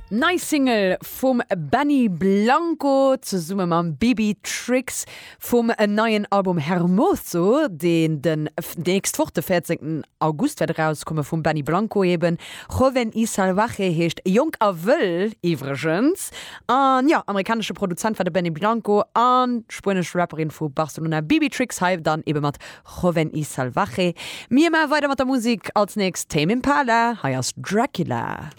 Nei Single vum Benny Blanco zesumme mam Bibi Trix vum neien Album Hermoso, deen den nächst Woch de 14 August wäert erauskomme vum Benny Blanco eben. Joven y Salvaje heescht Jonk a Wëll iwwregens. An jo, amerikanesche Produzent war de Benny Blanco an d'spuenesch Rapperin vu Barcelona Bibi Trix hei dann ebe mat Joven y Salvaje. Mir maache weider mat der Musek, als nächst Tame Impala, hei ass Dracula.